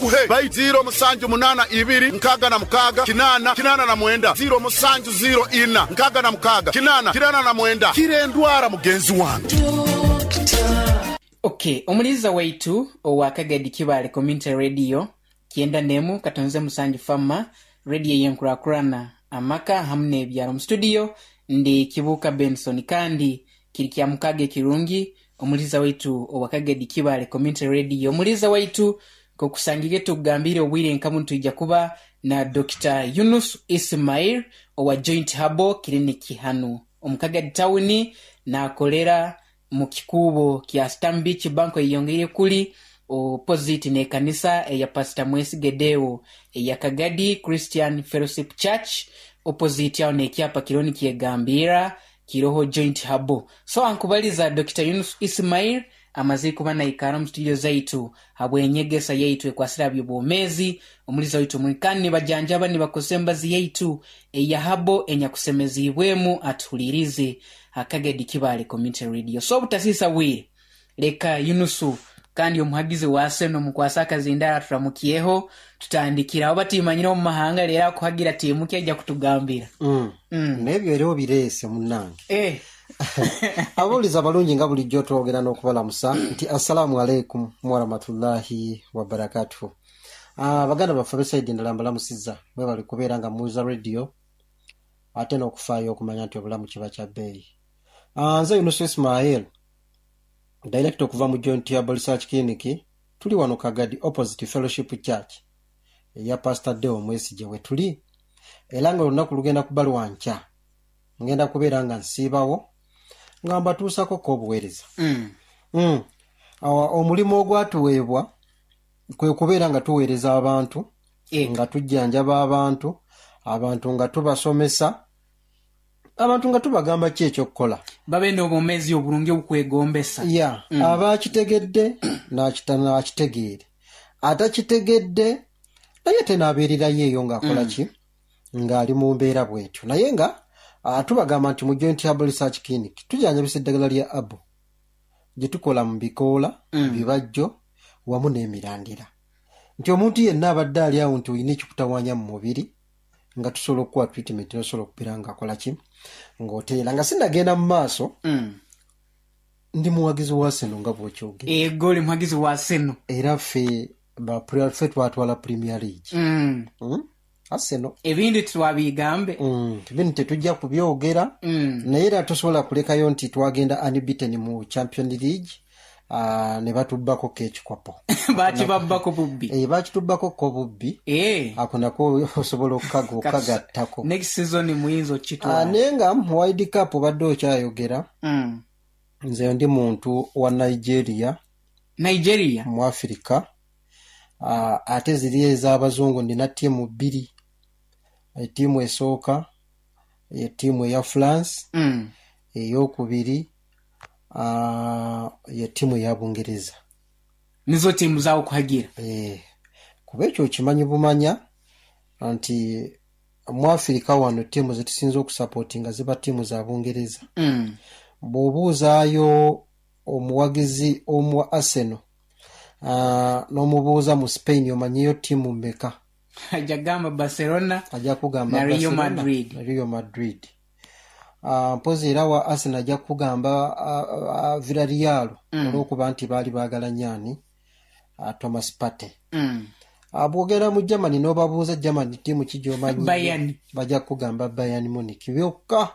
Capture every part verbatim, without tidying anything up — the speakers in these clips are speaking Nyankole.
Kuhe bai ziro musanju munana ibiri nkaga na mukaga kinana kinana na mwenda ziro musanju ziro ina nkaga na mukaga kinana kinana na mwenda kire ndwara mugenzi wange. Okay, omuliza waitu owa Kagadi Kibale Community Radio kyenda nemu katonze musanju fama radio yenkurakurana amaka hamu n'ebyaro. Mu studio ndi Kibuka Benson, kandi kiri kya mukaga ekirungi omuliza waitu owa Kagadi Kibale Community Radio. Omuliza waitu kokusangire tugambire obwire nkamu nitwija kuba na Doctor Yunus Ismail owa Joint Herbal Clinic hanu omu Kagadi Town, nakolera mu kikubo kya Stanbic Bank eyongeire kuli opposite n'ekanisa eya Pastor Mwesigedeo eya Kagadi Christian Fellowship Church, opposite aho n'ekyapa kiriho nikyegambira kiroho Joint Herbal. So ankubaliza Doctor Yunus Ismail amaze kuba naikara mu studio zaitu habwenyegesa yaitu ekwasira byobwomezi omuliza waitu mwikani nibajanjaba nibakosa embazi yaitu eya habo enyakusemezibwemu atuhulirize Akagadi Kibale Community Radio. So obutasisa bwire, leka Yunusu kandi omuhagizi wa Arsenal mukwasa akazindara turamukyeho tutandikira aho batimanyire omu mahanga rero akuhagira tiimu ki ajja kutugambira. Mm. N'ebyo era obireese munnange. Eh. Abuuliza abalungi nga bulijjo twogera n'okubalamusa nti assalaamu aleikum warahmatullahi wabarakatuhu. Ah, baganda baffe abesaidi endala mbalamusizza, mwebale kubeera nga muwuliza radio ate n'okufaayo okumanya nti obulamu kiba kya bbeeyi. Ah, nze Yunus Ismail, director okuva mu Joint Herbal Research Clinic. Tuli wano Kagadi opposite Fellowship Church eya Pastor Deo Mwesigye we tuli, era nga olunaku lugenda kuba lwankya ngenda kubeera nga nsiibawo nga mbatuusako ko obuweereza. Mm. Mm. Awa, omulimu ogwatuweebwa kwe kubeera nga tuweereza abantu, Eka. nga tujjanjaba abantu, abantu nga tubasomesa, abantu nga tubagamba ki ekyokukola babe n'obwomezi obulungi obukwegombesa. Ya, mm. Abakitegedde n'akita- n'akitegeere, atakitegedde naye tenaabeererayo eyo ng'akola ki, ng'ali mu mbeera bw'etyo. Naye nga ah, tubagamba nti mu Joint Herbal Research Clinic tujjanjabisa eddagala lya abo gye tukola mu bikoola, Mm. bibajjo wamu n'emirandira, nti omuntu yenna abadde ali awo nti olina ekikutawaanya mu mubiri nga tusobola okukuwa treatment nosobola okubeera ng'akola ki, ng'oteera. Nga sinnagenda mu maaso, Mm. ndi muwagizi wa Arsenal nga bw'okyogera. Ego, oli muhagizi wa Arsenal. Era ffe ba ffe twatwala Premier League. Mm. Mm? Arsenal. Ebindi twabigambe. Mm, bino tetujja kubyogera. Mm. Naye era tosobola kulekayo nti twagenda unbeaten mu Champion League, uh, ne batubbako ko ekikopo. Bakibabbako bubbi. Eh, bakitubbako ko bubbi. Eh. Ako nako osobola okukaga okukagattako. Next season muyinza Ah, okukitwala. Naye nga mu World Cup obadde okyayogera, Mm. nze ndi muntu wa Nigeria. Nigeria. Mu Africa. uh, ate ziri ez'abazungu nina ttiimu bbiri. Ettiimu esooka ye ttiimu eya France, Mm. eyokubiri uh, ye ttiimu eya Bungereza. Nizo tiimu zawo kuhagira. Eh, kuba ekyo okimanyi bumanya nti mu Afirika wano ttiimu zetusinza okusapootinga ziba ttiimu za Bungereza. Mm. Bw'obuuzaayo omuwagizi omu wa Arsenal, uh, n'omubuuza mu Spain omanyiyo ttiimu mmeka, ajja kugamba Barcelona ajja kugamba na Real Barcelona Madrid. Na Real Madrid. Uh, mpozi era wa Arsenal ajja kugamba uh, uh, Villarreal, Mm. olw'okuba nti baali baagala nyaani uh, Thomas Partey. Mm. Uh, bw'ogenda mu Germany n'obabuuza Germany ttiimu ki gy'omanyi, Bayern. bajja kugamba Bayern Munich byokka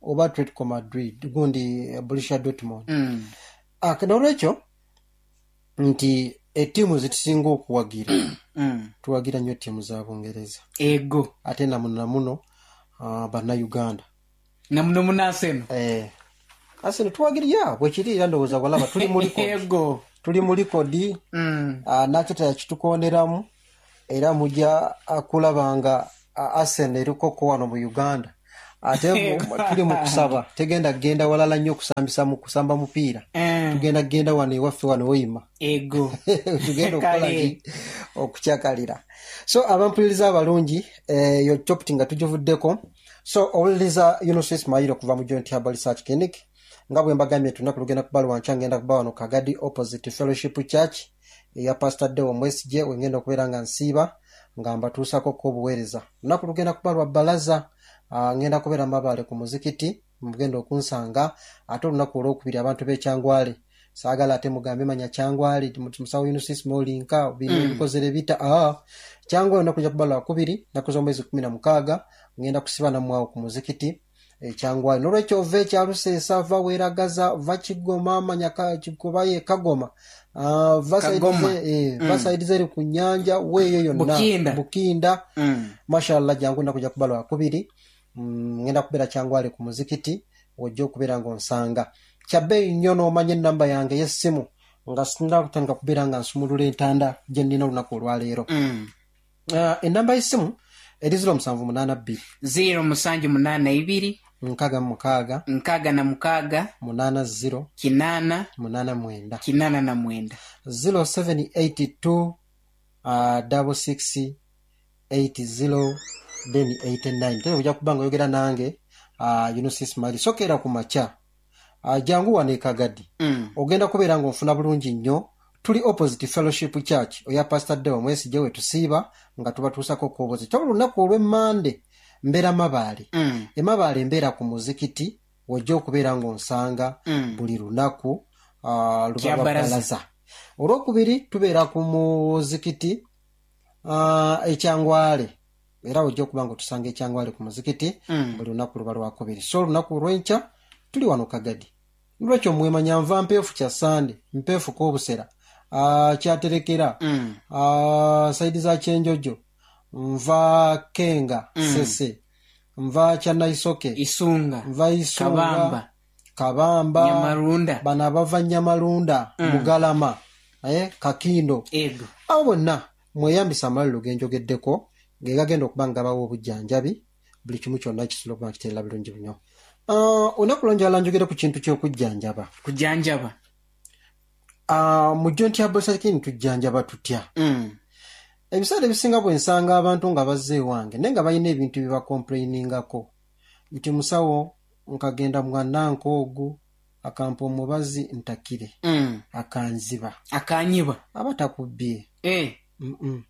oba Atletico Madrid, gundi eh, Borussia Dortmund. Mm. Ah, n'olwekyo nti ettiimu zetusinga okuwagira, Mm. tuwagira nnyo ttiimu za Bungereza. Ego. Ate namuno namuno uh, bannayuganda. Namuno muna Arsenal. Eh, Arsenal tuwagira, ya bwekiri, era ndowooza walaba tuli mu record. Ego. Tuli mu record. Mm. uh, nakyo yakitukooneramu era mujja ah, kulaba nga ah, Arsenal erikoko wano mu Uganda, ate mu- tuli mu kusaba tegenda kugenda walala nnyo okusambisa mu kusamba mupiira. Eh. Tugenda kugenda wano ewaffe wano oyima. Ego. Tugenda okukola Kale. ki, okukyakalira. So abampuliriza abalungi, eh, yo topic nga tugivuddeko. So owuliriza Yunus Ismail okuva mu Joint Herbal Research Clinic. Nga bwe mbagambye nti olunaku lugenda kuba lwankya, ngenda kuba wano Kagadi opposite Fellowship Church. eya Pastor Deo Mwesigye, wengenda okubeera nga nsiiba nga mbatuusako ko obuweereza. Olunaku lugenda kuba lwa bbalaza, uh, ngenda kubeera Mabaale ku muzikiti, mugenda okunsanga. Ate olunaku olwokubiri abantu b'ekyangwale, saagala ate mugambe manya Kyangwale musawo Yunus Ismail bino mm. bikozere bita ah Kyangwale. Olunaku lujja kuba lwakubiri, nnaku z'omwezi kumi na mukaaga, ngenda kusiba nammwe awo ku muzikiti ekyangwale. Nolwekyo ova ekyaluseesa, va Weragaza, va Kigoma, manya Kikubaye Kagoma, uh, va eh, mm. side zeri ku nyanja weeyo yonna Bukinda, Bukinda. Mm. Mashallah, jangu, nnaku ojja kuba lwakubiri, mm, ngenda kubeera Kyangwale ku muzikiti, ojja okubeera ng'onsanga. Kyabbeeyi nnyo n'omanya ennamba yange y'essimu nga sinna kutandika kubeera nga nsumulula entanda gye nnina olunaku olwaleero. Mm. Uh, ennamba y'essimu eri ziro musanvu munaana bbiri, ziro musanju munaana ibiri, nkaaga mu mukaaga, nkaaga na mukaaga, munaana ziro, kinaana, munaana mwenda, kinaana na mwenda. zero seven eight two uh, double six eight zero then eighty nine. Tere ojja kuba nga oyogera nange uh, Yunus Ismail. Sokeera ku makya, uh, jangu wano e Kagadi, mm. ogenda kubeera ng'onfuna bulungi nnyo. Tuli opposite Fellowship Church oya Pastor Deo Mwesigye, we tusiiba nga tubatuusako kobozi. Kyabula olunaku olw'emmande mbeera Mabaale. Mm. Emabaale mbeera ku muzikiti, wojja okubeera ng'onsanga. Mm. Buli lunaku uh, luba Kya lwa baraza. bbalaza. Olwokubiri tubeera ku muzikiti uh, ekyangwale, era ojja okuba nga otusanga ekyangwale ku muzikiti. Mm. Buli lunaku luba lwakubiri. So olunaku olwenkya tuli wano Kagadi. Lwekyo mwemanya nva mpeefu kya Sande, mpeefu kobusera, uh, kyaterekera, Mm. uh, side za Kyenjojo, nva Kenga, Mm. Sese, nva Kyanaisoke, Isunga, nva Isunga, Kabamba, Kabamba, Nyamarunda. Bano abava Nyamalunda, Mm. Bugalama, eh, Kakindo, ego abo bonna mweyambisa amalwaliro genjogeddeko ge gagenda okuba nga gabawa obujjanjabi. Buli kimu kyonna kisobola okuba nga kiterera bulungi nnyo. Ah, olunaku lwanjala njogere ku kintu ky'okujjanjaba. Kujanjaba. Ah, mu Joint Herbal Clinic tujjanjaba tutya? Mm. Ebiseera ebisinga bwe nsanga abantu nga bazze ewange naye nga balina ebintu bye bacomplainingako nti, "Musawo, nkagenda mwananka ogu akampa omubazi ntakire, Mm. akanziba." Akanyiba. Aba takubbye. Eh. Mm-mm.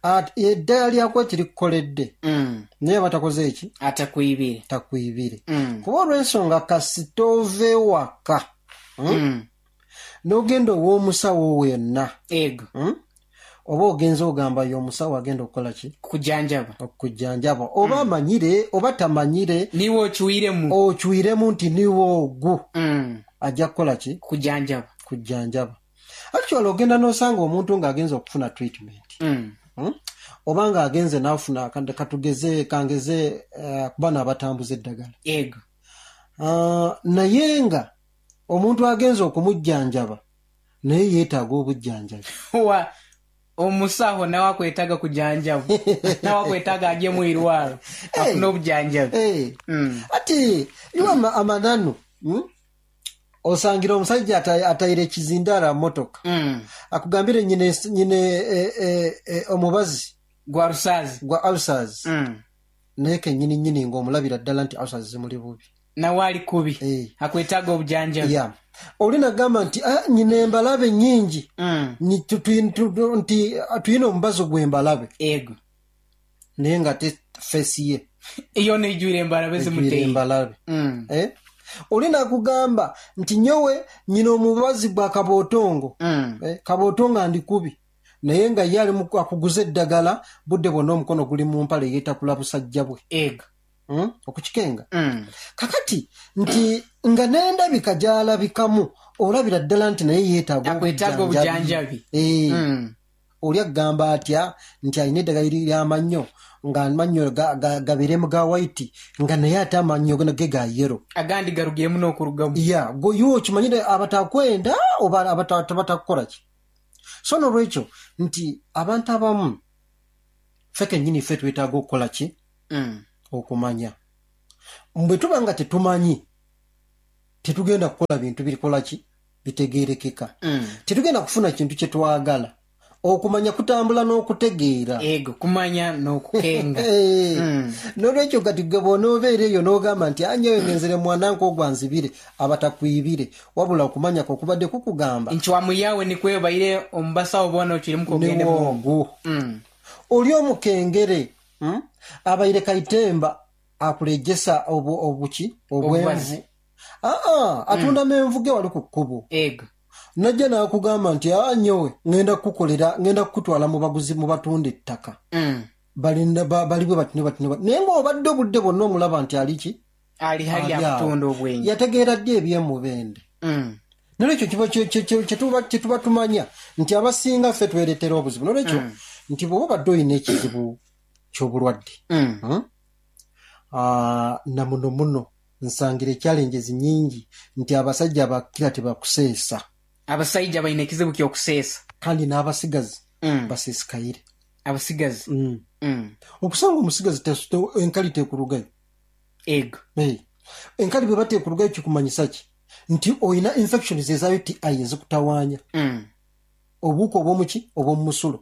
Ate eddagala lyako kirikukoledde, Mm. naye aba takoze eki? Atakwibire. Takwibire. Mm. Kuba olw'ensonga kasita ova ewaka, mm? Mm. n'ogenda ow'omusawo wenna, ego mm? oba ogenza ogamba ye omusawo agenda okukola ki? Kujanjaba. Okujjanjaba, oba amanyire oba tamanyire, niwe okiwiremu, okiwiremu nti niwe ogwo Mm. ajja kukola ki? Kujanjaba. Kujjanjaba. Actually ogenda n'osanga omuntu ng'agenza okufuna treatment, Mm. hmm? oba ng'agenze n'afuna, katugeze, kangeze uh, kuba n'abatambuza eddagala, ego uh, naye nga omuntu agenze okumujjanjaba naye yeetaaga obujjanjabi. Wa omusawo nawe akwetaaga kujanjaba, nawe akwetaaga ajye mu irwaro afune obujanjabi. Hey. Mm. Ati iwe ama- amananu, hmm? Osangira omusajja ata- atayire ekizindaala motoka, Mm. akugambire nyine, nyine e, e, e, omubazi gwa rusazi, gwa ulcers, Mm. naye kenyini nyini ng'omulabira ddala nti ulcers zimuli bubi. Nawe ali kubi, Eh. akwetaaga obujanjabi. Yeah. Oli nagamba nti, "Ah, nyina embalabe nyingi." Mm. Ni- tu- tu- tu- nti ah, tuyina omubazi gw'embalabe, ego naye nga te face ye iyo neijwire embalabe ejwire zimuteye. embalabe. Mm. Eh? Oli nakugamba nti, "Nyowe nyina omubazi gwa kabootongo." Mm. Eh, kabootongo andi kubi, naye nga ye ali mu- akuguza eddagala budde bwonna omukono guli mu mpale, yeetakula busajja bwe. Ego Mm? okukikenga. Mm. Kakati nti nga n'endabika gy'alabikamu olabira ddala nti naye yeetaaga akwetaaga obujanjabi. Eh, Mm. oli agamba atya nti alina eddagala ly'amannyo nga amannyo ga- ga- gabeeremu ga white, nga naye ate amannyo ge ga yellow? Agandi garugiremu n'okurugamu. Ya goyo okimanyire abatakwenda oba abata- batakukola ki. So nolwekyo nti abantu abamu ffe kennyini ffe twetaaga okukola ki? Mm. Okumanya. Bwe tuba nga tetumanyi, tetugenda kukola bintu birikola ki? Bitegeerekeka. Mm. Tetugenda kufuna kintu kye twagala. Okumanya kutambula n'okutegeera. Ego, kumanya n'okukenga. Eh, Mm. Nolwekyo kati gwe bw'onoobeera eyo n'ogamba nti anyewe ngenzere mwanange ogwanzibire, abatakwibire, wabula okumanya kwe okubadde kukugamba Nchwamu yawe nikwebaire omubasawo bona okirimu kogende mu niwoogu. Mm. Oli omukengere, mm? Abaire kaitemba akulejesa obu, obuki obwenvu. Obubazi. Aa, atunda menvu ge wali ku kkubo. Ego. Najja n'akugamba nti aa nyowe ŋŋenda kukukolera, ŋŋenda kukutwala mu baguzi mu batunda ettaka. Mm. Balinda ba- bali bwe bati ne bati ne bati, naye ng'obadde obudde bwonna omulaba nti ali ki? Ali hali Ali awo. akutunda obwenyi. Yategeera ddi ebyemubende? Mm. Nolwekyo kiba kye- kye- kye- kye tuba- kye tuba tumanya nti abasinga ffe twereetera obuzibu. Nolwekyo nti bw'oba obadde olina ekizibu ky'obulwadde, Mm. hmm? Ah, na muno muno nsangira challenges nyingi nti abasajja bakira tebakuseesa. Abasajja balina ekizibu ky'okuseesa. Kandi n'abasigazi Mm. baseesikaire. Abasigazi. Mm. Mm. Okusanga omusigazi te- te- enkali tekurugayo. Ego. Hey. Enkali bwe bateekurugayo kikumanyisa ki? Nti oyina infections eza U T I ezikutawaanya. Mm. Obuwuka obw'omuki, obw'omusulo,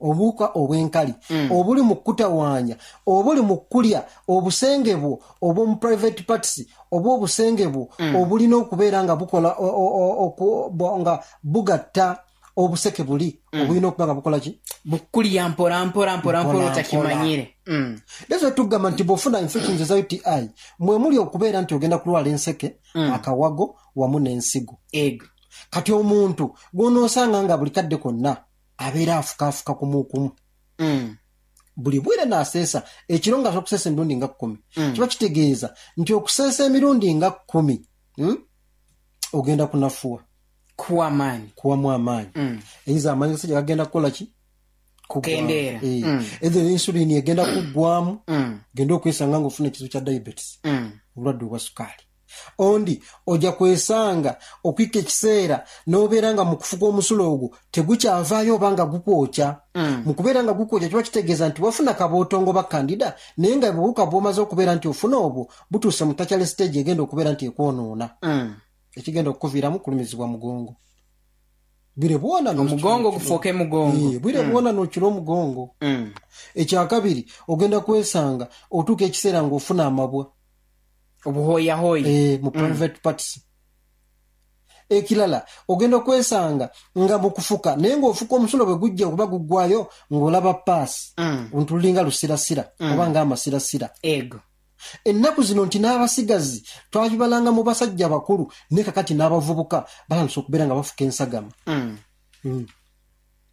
obuwuka obw'enkali Mm. obuli mu kutawaanya, obuli mu kulya obusenge bwo obw'omu private parts, oba obusenge bwo obulina okubeera nga bukola o- o- o- oku- bo- nga bugatta obuseke buli obulina okuba nga bukola ki? Bukulya mpora mpora mpora mpora. Mpola. Otakimanyire. Mm. Leero tugamba nti bw'ofuna infections eza U T I, mwe muli okubeera nti ogenda kulwala enseke, akawago wamu n'ensigo. Ego. Kati omuntu gw'onoosanga nga buli kadde konna abeera afukaafuka kumukumu, Mm. buli bwire n'aseesa ekiro nga okuseesa emirundi nga kkumi, kiba kitegeeza nti okuseesa emirundi nga kkumi, hmm? ogenda kunafuwa. Kuwa amaanyi. Kuwamu amaanyi. Mm. Eyinza amaanyi gasajja gagenda kukola ki? Kukendeera. Eh, Mm. Either insulin egenda kuggwamu, Mm. genda okwesanga nga ofuna ekizibu kya diabetes, Mm. obulwadde obwa sukaali. Ondi ojja kwesanga okwika ekiseera n'obeera nga mu kufuka omusulo ogwo tegukyavaayo oba nga gukwokya. Mm. Mu kubeera nga gukwokya kiba kitegeeza nti wafuna kabootongo ba candida, naye nga buwuka bw'omaze okubeera nti ofuna obwo butuuse mu tertiary stage egenda okubeera nti ekwonoona, Mm. ekigenda okukuviiramu kulumizibwa mugongo bwire bwona. Omugongo gufuuke mugongo. Eh, bwire bwona n'okira omugongo. Mm. Ekyakabiri, ogenda kwesanga otuuka ekiseera ng'ofuna amabwa. Obuhoyahoya. Eh, mu private parts. Ekirala, ogenda okwesanga nga mu kufuka, naye ng'ofuka omusulo bwe gujja okuba guggwayo ng'olaba pus, Mm. nti lulinga lusirasira oba ng'amasirasira. Ego. Ennaku zino nti n'abasigazi twakibalanga mu basajja bakulu, naye kakati n'abavubuka batandise okubeera nga bafuka ensagama. Mm. Mm.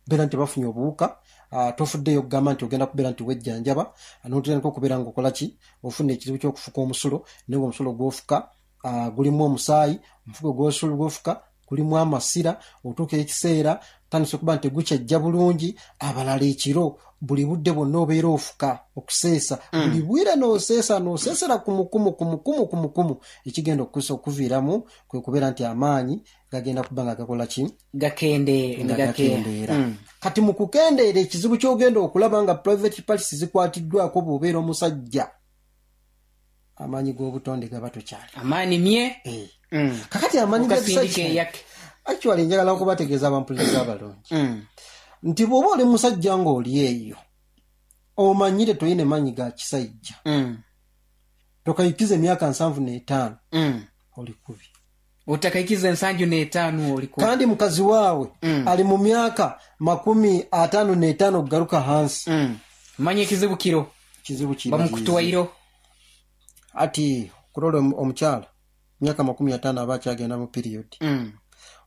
Beera nti bafunye obuwuka, ah, tofuddeyo okugamba nti ogenda kubeera nti wejjanjaba, notandika okubeera nga okola ki, ofuna ekizibu ky'okufuka omusulo, naye nga omusulo gwofuka ah, gulimu omusaayi, omufuko gw'osulo gwofuka gulimu amasira. Otuuka ekiseera tandise okuba nti tegukyajja bulungi. Abalala ekiro buli budde bwonna obeera ofuka okuseesa, buli bwire n'oseesa, n'oseesera kumukumu kumukumu kumukumu, ekigenda okusa okuviiramu kwe kubeera nti amaanyi gagenda kuba nga gakola ki? Gakende. Nga gakendeera. Mm. Kati mu kukendeera, ekizibu ky'ogenda okulaba nga private parts zikwatiddwako, bw'obeera omusajja, amaanyi g'obutonde gaba tokyali. Amaanyi mye. Eh. Mm. Kakati amaanyi Okasindika g'ekisajja, eyake. Actually njagala okubategeeza abampuliriza abalungi Mm. nti bw'oba oli musajja ng'oli eyo omanyire toyina maanyi ga kisajja, Mm. tokayikiza emyaka nsanvu n'etaano, Mm. oli kubi. Otakaikiza ensanju n'etaano oli ku Kandi mukazi waawe Mm. ali mu myaka makumi ataano n'etaano okugaruka hansi, Mm. manya ekizibu kiro. Kizibu kiba. Bamukutwairo. Ati kulola omu- omukyala myaka makumi ataano aba akyagenda mu period. Mm.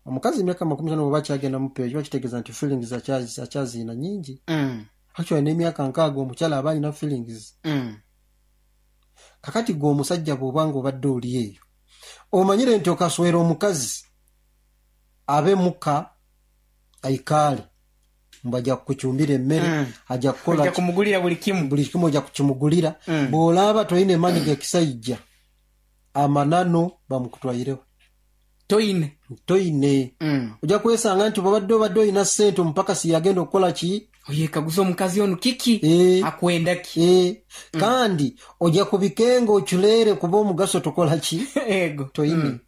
Omukazi emyaka makumi ataano bw'aba akyagenda mu period, kiba kitegeeza nti feelings akyazi- akyaziina nyingi. Mm. Actually n'emyaka nkaaga omukyala aba alina feelings. Mm. Kakati gwe omusajja bw'oba nga obadde oli eyo omanyire nti okaswera omukazi abe muka aikaale mbu ajja kukucumbira emmere, Mm. ajja kukola Ojja kumugulira buli kimu. Buli kimu ojja kukimugulira. Mm. Bw'olaaba tolina emaanyi gekisajja, amanano bamukutwaireho. Toyine. Toyine. Mm. Ojja kwesanga nti bwobadde obadde olina ssente, omupakasi yagenda okukola ki? Oyekaguza omukazi ono kiki? Eh. Akwenda ki? Eh, kandi ojja kubikenga oculeere kuba omugaso tokola ki? Ego. Toyine.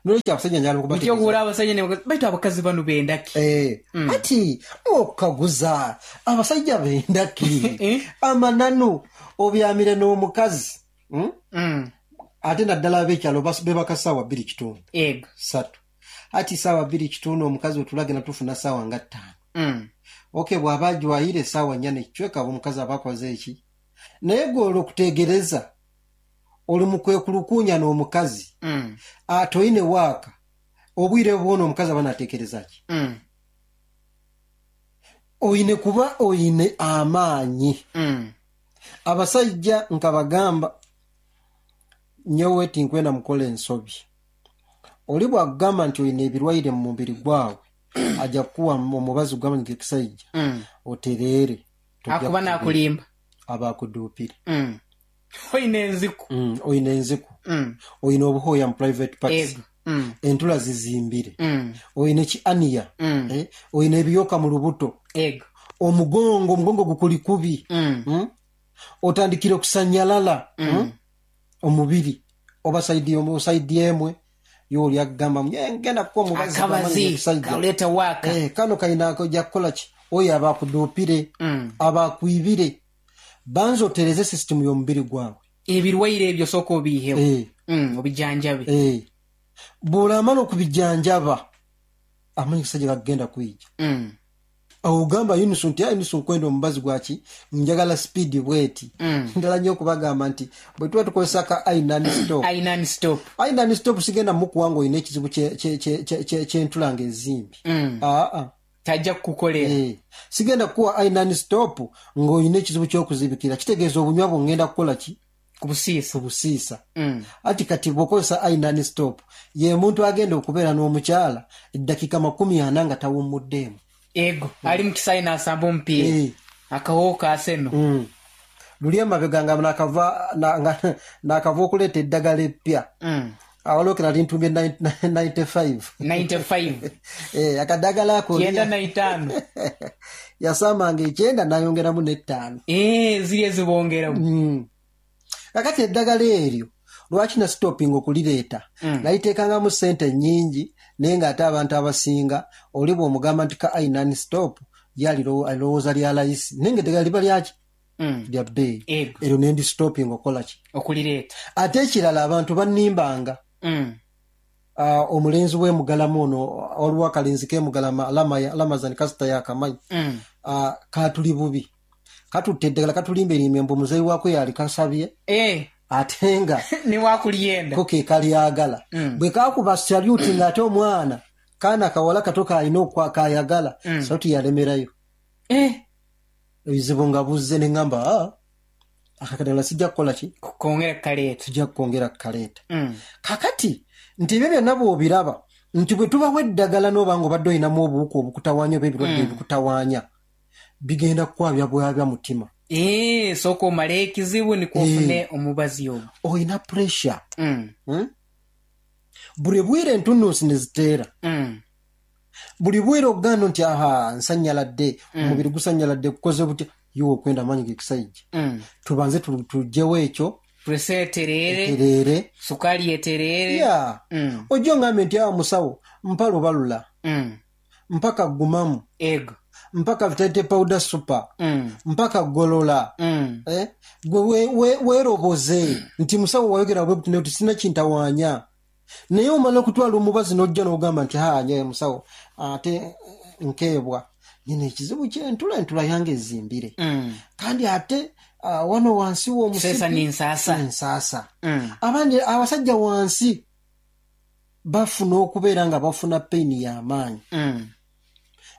Nolwekyo abasajja njagala Nikyo okuwura abasajja ne bakazi, baitu abakazi bano bendaki. Eh, ati okukaguza abasajja bendaki? Eh? Amananu obyamire n'omukazi, mm? Mm. Ate naddala ab'ekyalo bas- bebaka saawa bbiri kitundu, Ego. ssatu. Ati saawa bbiri kitundu omukazi otulagenda tufuna saawa nga ttaano. Mm. Ok, bw'aba ajwayire essaawa nnya nekicweka, aba omukazi aba akoze eki? Naye gwe olwokutegereza oli mu kwekulukuunya n'omukazi, Mm. ate oyine waaka obwire bwona omukazi aba nateekereza ki? Mm. Oyine kuba oyine amaanyi. Mm. Abasajja nkabagamba, nyowe tinkwenda mukola ensobi. Oli bwakugamba nti oyina ebirwaire mu mubiri gwawe, ajja kukuwa omubazi gw'amanyi gekisajja, Mm. otereere. Tojja Akuba kutereera. nakulimba. Aba akuduupire. Mm. Oyina enziku. Mm, oyina enziku, Mm. oyina obuhooya mu private parts, Ego. Mm. entula zizimbire, Mm. oyina ekianiya, Mm. eh, oyina ebiyoka mu lubuto, Ego. omugongo omugongo gukuli kubi, Mm. mm? Otandikire okusanyalala, Mm. mm? Omubiri oba side omu- side emwe yooli agamba, "Nye, ngenda kukuwa omubazi gw'amanyi Akabazi gekisajja." kaleeta waaka. Eh, kano kayina kojja kukola ki? Oyo aba akuduupire, Mm. aba akwibire. Banza otereze sisitimu y'omubiri gwawe. Ebirwaire ebyo sooka obiihewo. Eh, Mm. Obijanjabe. eh. Bw'olamala okubijanjaba, amanyi kisajja gagenda kwijja. Mm. Awo ogamba Yunusu nti, "Ah, Yunusu, nkwenda omubazi gwaki, njagala speed bweti." Mm. Ndala nnyo okubagamba nti bwe tuba tukozesa ka inan stop, Ainan stop. Inan stop sigenda mukuwa nga olina ekizibu kye- kye- kye- kye- kye- ky'entula nga ezimbi. Mm. Aa. Tajja kukukolera. Eh, sigenda kukuwa inan stop ng'olina ekizibu ky'okuzibikira. Kitegeeza obunywa bwongenda kukola ki? Ku busiisa. Obusiisa. Mm. Ati kati bw'okozesa inan stop, ye muntu agenda okubeera n'omukyala eddakiika makumi ana nga tawummuddeemu. Ego, ali mu kisaawe n'asamba omupiira. Eh. Akawowo kaaseno. Mm. Luli emabega nga nakava na- nga- nakava okuleeta eddagala eppya, Mm. awaliwo nali ntumbye nkaaga mu munaana. nkaaga mu ttaano. Eh, akadagala ako Kyenda na itaano. Yasambanga ekyenda nayongeramu n'ettaano. Eh, ziri ezibongeramu. Mm. Kakati eddagala eryo lwaki nasitopinga okulireeta? Mm. Naliteekangamu sente nnyingi, naye ng'ate abantu abasinga oli bw'omugamba nti ka inan stop, ye alirowooza lya layisi, naye nga eddagala liba lyaki? Mm. Lya bbeeyi. Ego. Eryo nendi stopinga okukola ki? Okulireeta. Ate ekirala, abantu bannimbanga. Mm. uh, omulenzi w'emugalama ono, waliwo akalenzi k'emugalama, Lamazani kasita yakamanyi. Mm. uh, katuli bubi, katutta eddagala, katulimba erimbe mbu muzeeyi waako yali kasabye, Eh, ate nga newakulyenda. ko ke kalyagala. Mm. Bwe kakuba saluti ng'ate omwana kaana kawala kato kalina okwa kayagala, Mm. saluti yalemerayo. Eh, Ebizibu nga buzze, ne ŋŋamba, "Ah, akakadagala sijja kukola ki? Kongera kukaleeta. Sijja kukwongera kukaleeta." Mm. Kakati nti ebyo byonna bw'obiraba nti bwe tubawo eddagala n'oba nga obadde olinamu obuwuka obukutawaanya oba ebirwadde Mm. ebikutawaanya, bigenda kukwabya bwabya mutima. Eh, sooka omale ekizibu nikwo ofune omubazi ogwo. Olina pressure, Mm. hmm? Buli bwire entunnunsi ne ziteera, Mm. buli bwire oganda nti, "Aha, nsanyaladde, omubiri gusanyaladde, gukoze butya?" Yiwe okwenda amaanyi gekisajja, Mm. tubanze tu- tugyewo ekyo. Pressure etereere, Etereere. Sukaali etereere. Ya. Mm. Ojja ongambe nti, "Awa musawo, mpa lubalula, Mm. mpaka gumamu, Ego. mpaka vitality powder super, Mm. mpaka golola." Mm. Eh? Gwe we- we- weeroboze nti, "Musawo, wayogera bwe buti nti sina kintawaanya," naye omala okutwala omubazi n'ojja n'ogamba nti, "Ha, nye musawo, ate eh, nkeebwa nyina ekizibu kyentula, entula yange ezimbire, Mm. kandi ate ah, wano wansi Seesa n'ensaasa. Ensaasa. Mm. Abandi abasajja wansi bafuna okubeera nga bafuna pain y'amaanyi. Mm.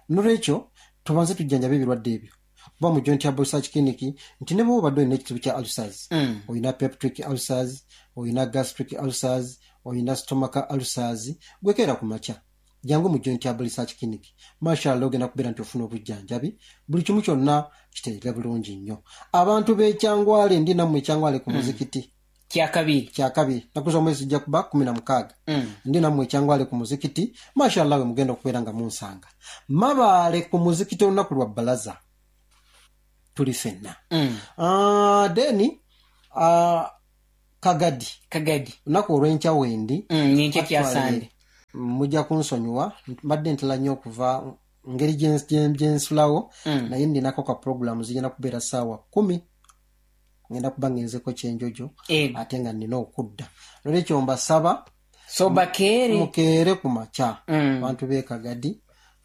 Nolwekyo tubanze tujjanjabe ebirwadde ebyo, kuba mu Joint Herbal Research Clinic nti ne bwoba obadde olina ekizibu kya ulcers, Mm. olina peptic ulcers, olina gastric ulcers, olina stomach ulcers, gwekeera ku makya jangu mu Joint Herbal Research Clinic, mashallah, ogenda kubeera nti ofuna obujjanjabi, buli kimu kyonna kiterere bulungi nnyo. Abantu b'ekyangwale, ndi nammwe ekyangwale ku muzikiti. Kyakabiri. Kyakabiri, naku z'omwezi zijja kuba kumi na mukaaga. Mm. Ndi nammwe ekyangwale ku muzikiti, mashallah, we mugenda okubeera nga munsanga. Mabaale ku muzikiti olunaku lwa balaza tuli ffenna. Mm. Ah, then ah, Kagadi. Kagadi. Lunaku olw'enkya wendi. Mm, nyenkya kyasande. Mujja kunsonyiwa, mbadde ntala nnyo okuva ngeri gyensulawo, mm. naye ndinako ka programu zigenda kubeera ssaawa kkumi, ngenda kuba ngenzeko kyenjojo ate nga nnina okudda. Nolwekyo mbasaba so bakeere, mukeere ku makya. Mm. Abantu b'e Kagadi,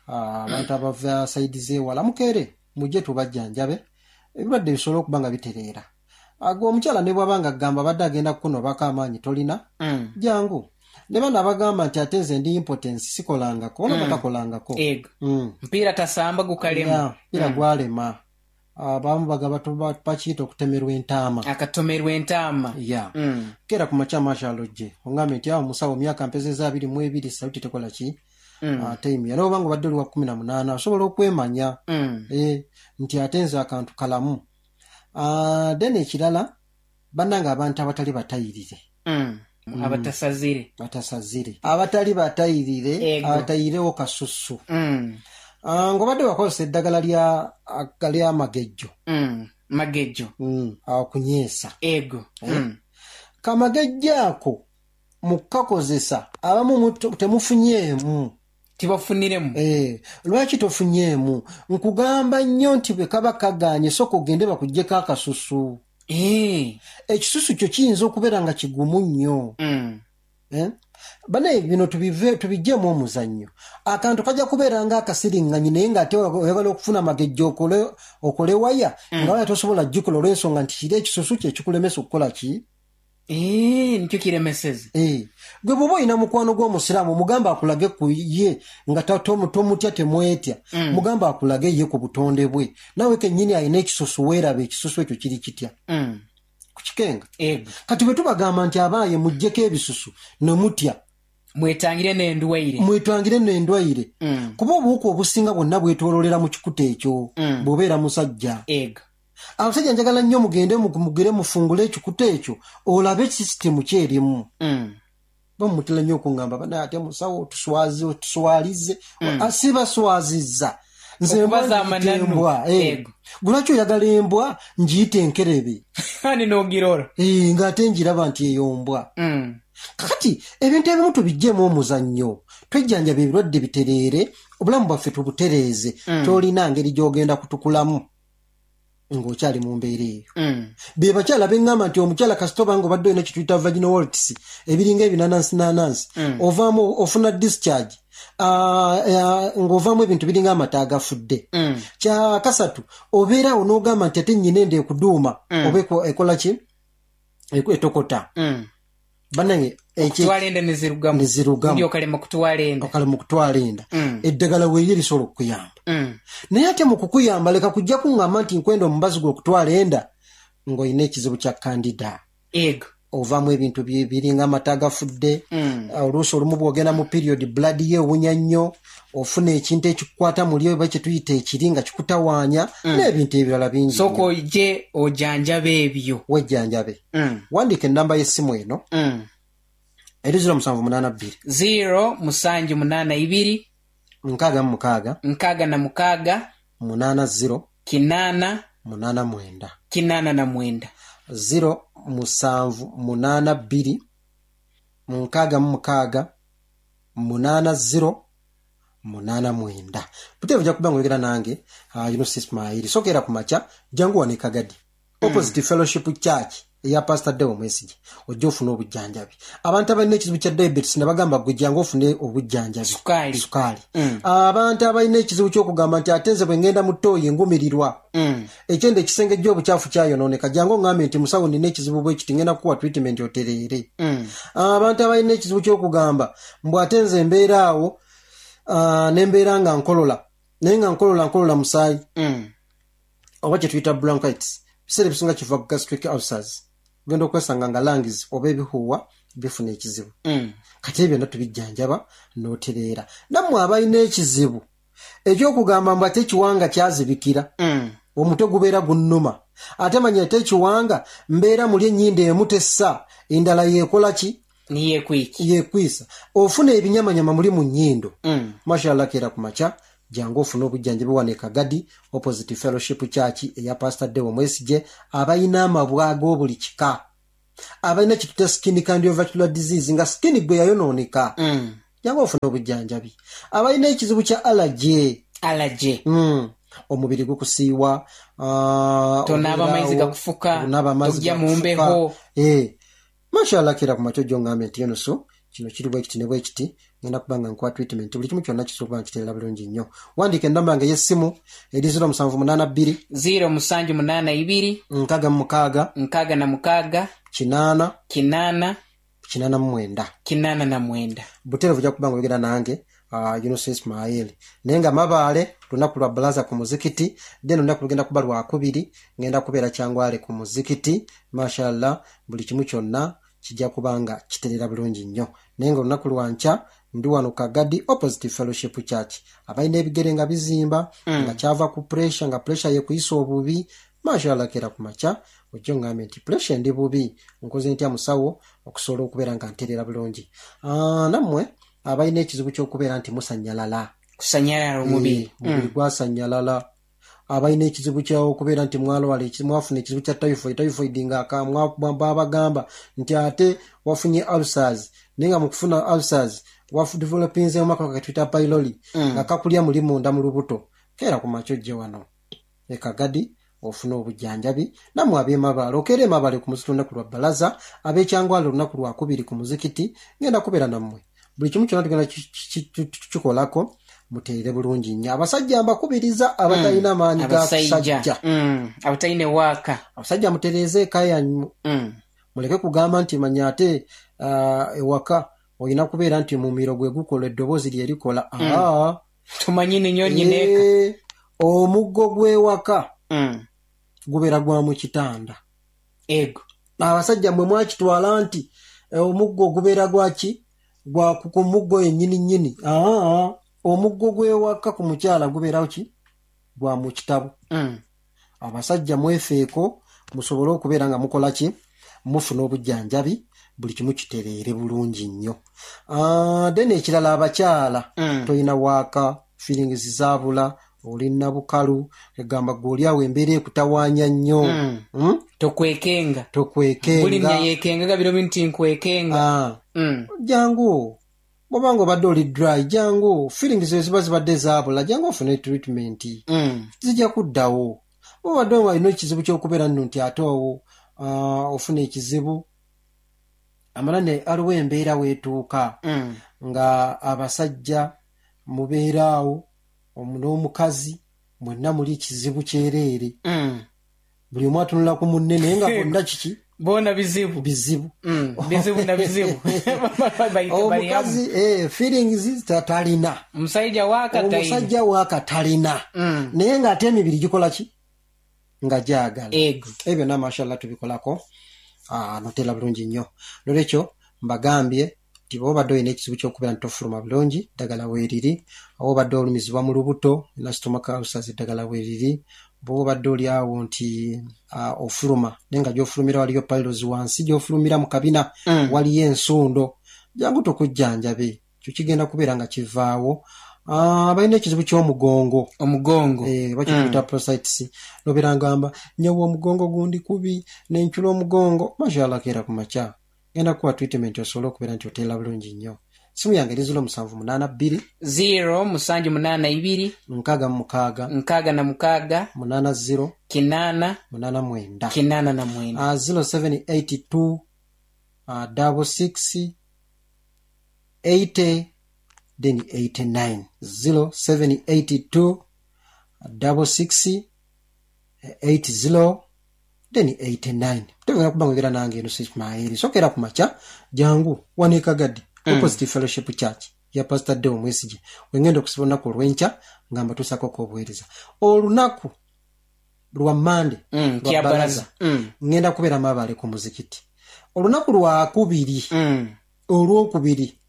abantu abava saidi z'ewala, mukeere mujje tubajjanjabe, ebirwadde bisobole okuba nga bitereera. Ago omukyala ne bw'aba nga agamba abadde agenda kukunobako amaanyi tolina, mm. jangu. Ne bano abagamba nti ate nze ndi impotence sikolangako, ona mm. batakolangako. Mm. Mpiira tasamba gukalema. Mpiira mm. gwalema. Abamu bagaba bakiyita okutemerwa entaama. Akatomerwa entaama. Ya. Mm. Keera ku makya mashalojje. Ongambe nti awo musawo myaka mpezezza abiri mu ebiri saluti tekola ki? Mm. Ate imya. N'oba nga obadde oli wa kkumi na munaana osobola okwemanya. Mm. E, nti ate nze akantu kalamu. Uh, then ekirala bannange abantu abatali batayirire. Mm. Mm. Abatasazire. Batasazire. Abatali batayirire, abatayirewo kasusu. Mm. Uh, ng'obadde wakozesa eddagala lya lya magejjo. Mm. Magejjo. Mm. Akunyeesa. Ego. Eh? Mm. Kamagejjo ako mukakozesa abamu temufunyeemu. Tibafuniremu. Eh, lwaki tofunyeemu? Nkugamba nnyo nti bwe kaba kagaanye sooka ogende bakuggyeko akasusu. Eh. Ekisusu kyo kiyinza okubeera nga kigumu nnyo. Mm. Eh? Banaye bino tubive tubiggyemu omuzannyo. Akantu kajja kubeera nga akasiriŋŋanyi naye ng'ate oyagala okufuna amagejjo okole okole waya, mm. nga waya tosobola gikola olw'ensonga nti kiri ekisusu kye kikulemesa okukola ki? Eh, nikyo kiremeseze. Eh. Gwe bw'oba olina mukwano gw'omusiraamu mugamba akulage ku ye nga tomutya temwetya. Mm. Mugamba akulage ye ku butonde bwe. Naawe kennyini alina ekisusu weeraba ekisusu ekyo kiri kitya. Mm. Kukikenga. Ego. Kati bwe tubagamba nti abaaye muggyeko ebisusu ne mutya. Mwetangire n'endwaire. Mwetangire n'endwaire. Mm. Kuba obuwuka obusinga bwonna bwetooloolera mu kikuta ekyo. Mm. Bw'obeera musajja. Ego. Abasajja njagala nnyo mugende mugere mufungule ekikuta ekyo olabe sisitemu kyerimu. Mm. Bamutera nnyo okungamba bana ate musawo tuswazi tuswalize. Mm. Si baswazizza. Nze mbwa. Eh. Lwaki oyagala embwa ngiyite enkerebe? Ani n'ogirora? Eh, ng'ate ngiraba nti eyo mbwa. Mm. Kakati ebintu ebimu tubiggyemu omuzannyo, twejjanjaba ebirwadde bitereere, obulamu bwaffe tubutereeze. Mm. Tolina ngeri gy'ogenda kutukulamu ng'okyali mu mbeera eyo. Mm. Be bakyala beŋŋamba nti omukyala kasita obanga obadde olina kye tuyita vaginal warts, ebiringa ebinanansi nanansi, mm. ovaamu ofuna discharge, uh, uh, ng'ovaamu ebintu biringa amata agafudde. Mm. Kya kasatu obeera awo n'ogamba nti ate nnyina enda ekuduuma, mm. oba ekola ki? Etokota. Mm. Bannange okutwala enda ne zirugamu. Ne zirugamu. Okalema kutwala enda. Okalema okutwala enda. Mm. Eddagala weerye lisobola okukuyamba. Mm. Naye ate mu kukuyamba leka kujja kuŋŋamba nti nkwenda omubazi gwe okutwala enda ng'olina ekizibu kya kandida. Ego. Ovaamu ebintu biringa amata agafudde. Mm. Oluusi olumu bw'ogenda mu period blood ye ewunya nnyo, ofuna ekintu ekikukwata muli oba kye tuyita ekiri nga kikutawaanya, mm. n'ebintu ebirala bingi. Sooka ojje ojjanjabe ebyo. Wejjanjabe. Mm. Wandiika ennamba y'essimu eno. Mm. Eri zero musanvu munaana bbiri. Zero musanju munaana ibiri. Nkaaga mu mukaaga. Nkaaga na mukaaga. Munaana zero. Kinaana. Munaana mwenda. Kinaana na mwenda. Zero musanvu munaana bbiri. Nkaaga mu mukaaga. Munaana zero. Munaana mwenda. Buteevu ojja kuba ng'oyogera nange, uh, Yunus Ismail. Sokeera ku makya, jangu wano e Kagadi. Opposite mm. Fellowship Church eya Pastor Deo Mwesige. Ojja ofune obujjanjabi. Abantu abalina ekizibu kya diabetes ne bagamba gwe jangu ofune obujjanjabi. Sukaali. Sukaali. Mm. Abantu abalina ekizibu ky'okugamba nti ate nze bwe ngenda mu ttooyi ngumirirwa. Mm. Ekyenda ekisengejja obukyafu kyayonooneka. Jangu oŋŋambe nti musawo nina ekizibu bwe kiti ngenda kukuwa treatment otereere. Mm. Abantu abalina ekizibu ky'okugamba mbu ate nze mbeera awo uh, ne mbeera nga nkolola. Naye nga nkolola nkolola musaayi. Mm. Oba kye tuyita bronchitis. Biseera ebisinga kiva ku gastric ulcers. Ogenda okwesanga nga lungs oba ebihuuwa bifuna ekizibu. Mm. Kati ebyo byonna tubijjanjaba n'otereera. Nammwe abalina ekizibu eky'okugamba mbu ate ekiwanga kyazibikira. Mm. Omutwe gubeera gunnuma. Ate manya ate ekiwanga mbeera muli ennyindo emu tessa, endala yeekola ki? Niyeekwiki. Yeekwisa. Ofuna ebinyamanyama muli mu nnyindo. Mm. Mashallah keera ku makya jangu ofune obujjanjabi wano e Kagadi Opposite Fellowship Church eya Pastor Deo Mwesige abalina amabwa ag'obuli kika. Abalina kituta skin cardiovascular disease, nga skin gwe yayonooneka, Mm. jangu ofune obujjanjabi. Abalina ekizibu kya allergy, Allergy. Mm. omubiri gukusiiwa, ah, Tonaaba obeera amaizi awo, gakufuka, tonaaba amazzi tojja mu gakufuka. mbeho. Eh, mashallah, kera ku makyo gyongambye nti yonoso kino kiri bwe kiti ne bwe kiti, ngenda kuba nga nkuwa treatment, buli kimu kyonna kisobola okuba nga kiterera bulungi nnyo. Wandiika enamba yange ey'essimu eri zero musanvu munaana bbiri, zero musanju munaana ibiri, nkaaga mu mukaaga, nkaaga na mukaaga, kinaana, kinaana, kinaana mu mwenda. Kinaana na mwenda. Buterevu ojja kuba nga oyogera nange, uh, Yunus Ismail. Naye nga Mabaale lunaku lwa balaza ku muzikiti, then olunaku lugenda kuba lwakubiri, ngenda kubeera Kyangwale ku muzikiti. Mashallah, buli kimu kyonna kijja kuba nga kiterera bulungi nnyo. Naye nga olunaku lwankya ndi wano Kagadi, opposite Fellowship Church. Abalina ebigere nga bizimba, mm. nga kyava ku pressure, nga pressure yekuyisa obubi, mashallah, kera ku makya ojja ongambe nti pressure endi bubi, nkoze ntya musawo okusobola okubeera nga nterera bulungi? Ah, nammwe abalina ekizibu ky'okubeera nti musanyalala, kusanyalala omubiri. Eh, omubiri gwasanyalala, abalina ekizibu kyokubeera nti mwalwala eki- mwafuna ekizibu kya typhoid, typhoid nga aka- mwa- mwa- babagamba nti ate wafunye ulcers, naye nga mukufuna ulcers wadevelopinzemu akawuka ketuyita pylori, nga kakulya muli munda mu lubuto, keera ku makya ojje wano ekagadi ofune obujjanjabi. Nammwe ab'emabaale, okeera emabaale ku muzikiti olunaku lwa balaza, ab'ekyangwale olunaku lwakubiri ku muzikiti, ngenda kubeera nammwe. Buli kimu kyonna tugenda ki- ki- ki- kikolako muteerere bulungi nnyo. Abasajja mbakubiriza, abatalina maanyi ga Abasajja. kusajja, Mm. abatalina ewaaka. Abasajja mutereeze eka yammwe. Mm. Muleke kugamba nti manya ate ah, ewaka olina kubeera nti mumiro gwe gukola, eddoboozi lye likola. Aa, tumanyi ninyo nyineeka. Eh, omuggo gw'ewaka Mm. gubeera gwa mu kitanda. Ego. Abasajja mmwe mwakitwala nti eh, omuggo gubeera gwaki, gwa ku muggo yennyini nnyini. Aa, omuggo gw'ewaka ku mukyala gubeerawo ki, gwa mu kitabo. Mm. Abasajja mwefeeko musobole okubeera nga mukola ki, mufuna obujjanjabi, buli kimu kitereere bulungi nnyo. Ah, then ekirala, abakyala, Mm. tolina waaka, feelings zaabula, oli nabukalu, egamba gwe oli awo embeera ekutawaanya nnyo. Mm. Mm? Tokwekenga. Buli Tokwekenga. mnya yekengaga biro bintu nkwekenga. Ah, Mm. jangu bwobanga obadde oli dry, jangu, feelings ezo ziba zibadde zaabula, jangu ofune treatment, Mm. zijja kuddawo. Obadde nga olina ekizibu ky'okubeera nno nti ate awo ah, ofuna ekizibu amala ne aliwo embeera weetuuka Mm. nga abasajja mubeera awo omu- n'omukazi mwenna muli kizibu kyereere. Mm. Buli omu atunula ku munne, naye nga bonna kiki? Boona bizibu. Bizibu. Mm. bizibu na bizibu. Bali- bali hamu. Omukazi eh, feelings ta- talina. Omusajja waaka talina. Omusajja waaka talina, Mm. naye ng'ate emibiri gikola ki, nga gyagala. Ego. Ebyo byonna mashallah tubikolako. Ah, notera bulungi nnyo. Nolwekyo mbagambye nti bwoba obadde olina ekizibu ky'okubeera nti tofuluma bulungi, ddagala weeriri. Oba obadde olumizibwa mu lubuto, olina stomach ulcers, eddagala weeriri. Bwoba obadde oli awo nti ah, ofuluma naye nga gy'ofulumira waliyo piles wansi, gy'ofulumira mu kabina Mm. waliyo ensundo, jangu tukujjanjabe, ekyo kigenda kubeera nga kivaawo. Ah, balina ekizibu ky'omugongo. Omugongo. Eh, bakiyita prostatitis, nobeera ngamba nyawa omugongo gundi kubi, nencula omugongo, mashallah, keera ku makya genda kuwa treatment osobole okubeera nti oteera bulungi nnyo. Simu yange eri zero musanvu munaana bbiri, zero musanju munaana ibiri, nkaaga mu mukaaga, nkaaga na mukaaga, munaana zero, kinaana, munaana mwenda. Kinaana na mwenda. Ah, zero seven eight two uh, double six eighty then eighty-nine, zero seven eight two double six eight zero then eighty-nine. Tegenda kuba ngogera nange eno Ismail. Sokera ku makya jangu wano Ekagadi, opposite Fellowship Church ya Pastor Deo Mwesigye, wengenda okusiba olunaku olw'enkya nga mbatuusako obuweereza. Olunaku lwa Mande Mm, lwa kya balaza, baraza. Mm. ngenda kubeera Mabaale ku muzikiti. Olunaku lwakubiri, Mm. olwokubiri,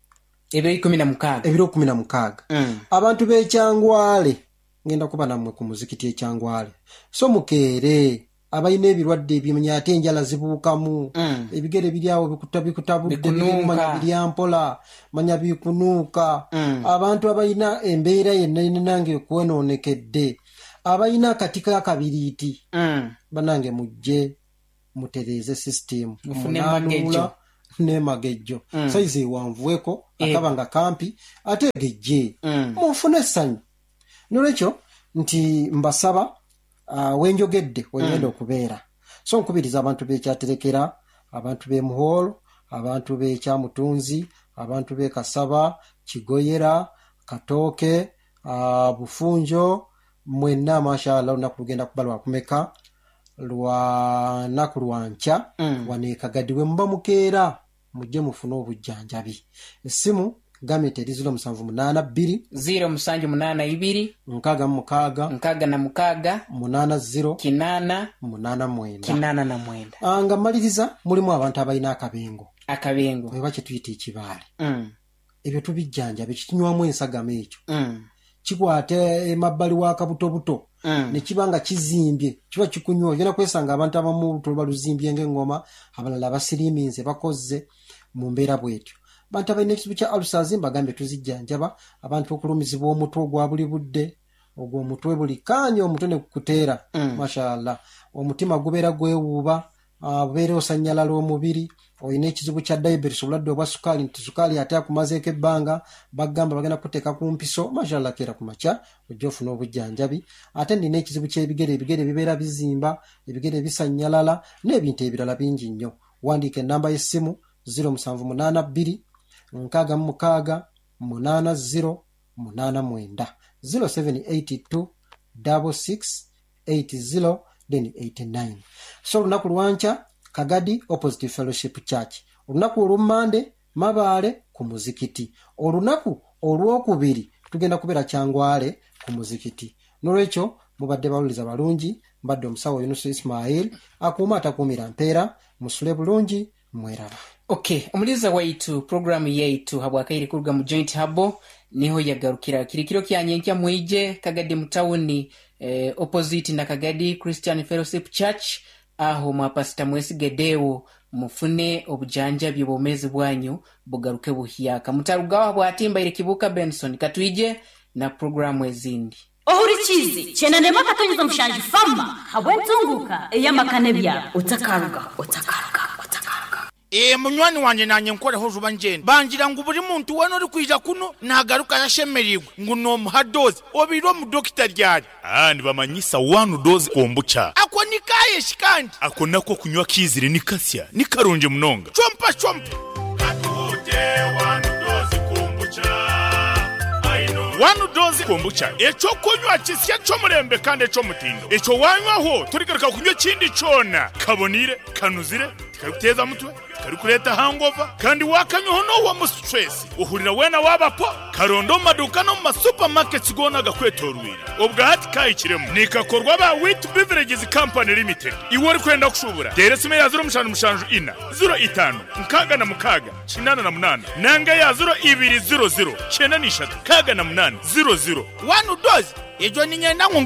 ebiro ikumi na mukaaga, ebiro kumi na mukaaga, Mm. abantu b'ekyangwale ngenda kuba nammwe ku muzikiti ekyangwale. So mukeere, abalina ebirwadde ebimanya ate enjala zibuukamu, Mm. ebigere biri awo bikuta- bikutabudde, Bikunuuka. biri manya birya mpola, manya bikunuuka, Mm. abantu abalina embeera yenna yenna nange ekwonoonekedde, abalina akati kakabiriiti, Mm. banange mujje Mutereeze sisitimu. Mufune magejjo. Nemagejjo Mm. saizi ewanvuweko, Eh. akaba nga kampi ate gejje, Mm. mufune essanyu. Nolwekyo nti mbasaba, uh, wenjogedde wengenda okubeera, so nkubiriza abantu bekyaterekera, abantu b'emuholo, abantu b'ekyamutunzi, abantu b'e Kasaba, Kigoyera, Katooke, uh, Bufunjo, mwenna mashallah. Olunaku lugenda kuba lwakumeka? Lwanaku lwankya. Mm. Wano e Kagadi we muba mukeera, mujje mufune obujjanjabi. Essimu gambye nti eri zero musanvu munaana bbiri, zero musanju munaana ibiri, nkaaga mu mukaaga, nkaaga na mukaaga, munaana zero, kinaana, munaana mwenda. Kinaana na mwenda. Ah, nga mmaliriza, mulimu abantu abalina akabengo, Akabengo. Oba kyetuyita ekibaale. Mm. Ebyo tubijjanjaba. Ekikinywamu ensagama ekyo Mm. kikwata emabbali wa kabutobuto Mm. ne kiba nga kizimbye, kiba kikunywa, ogenda kwesanga abantu abamu olubuto luba luzimbye ng'eŋŋoma, abalala basiriiminze, bakozze mu mbeera bwetyo. Abantu abalina ekizibu kya ulcers, mbagambye tuzijjanjaba. Abantu okulumizibwa omutwe ogwa buli budde, ogwo omutwe buli kaanya omutwe ne gukuteera, Mm. mashallah, omutima gubeera gwewuuba, ah, bubeera osanyalala omubiri, olina ekizibu kya diabetes, obulwadde obwa sukaali, nti sukaali ate akumazeeko ebbanga, bagamba bagenda kuteeka ku mpiso, mashallah, keera ku makya ojja ofuna obujjanjabi. Ate nina ekizibu ky'ebigere, ebigere bibeera bizimba, ebigere bisanyalala n'ebintu ebirala bingi nnyo. Wandiika enamba y'essimu: zero musanvu munaana bbiri nkaaga mu mukaaga munaana zero munaana mwenda, zero seven eight two six six eight zero then eighty-nine. So olunaku lwankya, Kagadi, opposite Fellowship Church. Olunaku olw'Mande, Mabaale ku muzikiti. Olunaku olwokubiri tugenda kubeera Kyangwale ku muzikiti. Nolwekyo mubadde bawuliriza balungi. Mbadde omusawo Yunusu Ismail, akuuma atakuumira mpeera. Musule bulungi, mweraba. Okay, omuliza waitu, programu yaitu habwakaire kuruga mu Joint Herbal niho yagarukira. Kiri kiro kyanyenkya, mwije Kagadi mutawuni, eh, opposite na Kagadi Christian Fellowship Church, aho mwapasita Mwesigedewo, mufune obujanjabi, obwomezi bwanyu bugaruke buhyaka. Mutarugaho bwatimbaire. Kibuka Benson, katwije na programu ezindi. Ohurikizi chenanema akatonyeza mushanju fama habwentunguka eyamakane byabo otakaruga, otakaruga, otakaruga. Ee, munywani wanje, nanye nkoreho juba ngenda bangira ngu buri muntu wena uri kwija kuno nagaruka yashemerirwe, ngu nomuha dose obire omudokita ryari. Ah, nibamanyisa One Dose Kombucha. Ako nikayeshi kandi? Ako nako kunywa kizire ni kasya, ni karungi munonga. Chompa chompa. Katute One Dose Kombucha. One Dose Kombucha, ekyo kunywa kisya ky'omurembe kandi eky'omutindo. Ekyo wanywaho turigaruka kunywa ekindi kyona. Kabonire, kanuzire, tikarikuteza mutwe, tikarikureeta hangover, kandi wakanywaho n'owa mu stress uhurira wena wabapo. Karondo mu maduka no mu masupermarkets gona gakwetorwire. Obwo hati kayikiremu nikakorwa ba Wit Beverages Company Limited. Iwe uri kwenda kushubura, tera esimu ya zero mushanju mushanju ina zero itano nkaaga na mukaaga kinaana na munaana, nanga ya zero ibiri zero zero kyenda n'ishatu kaaga na munaana zero zero. One Dose ejo ninyenda ngu.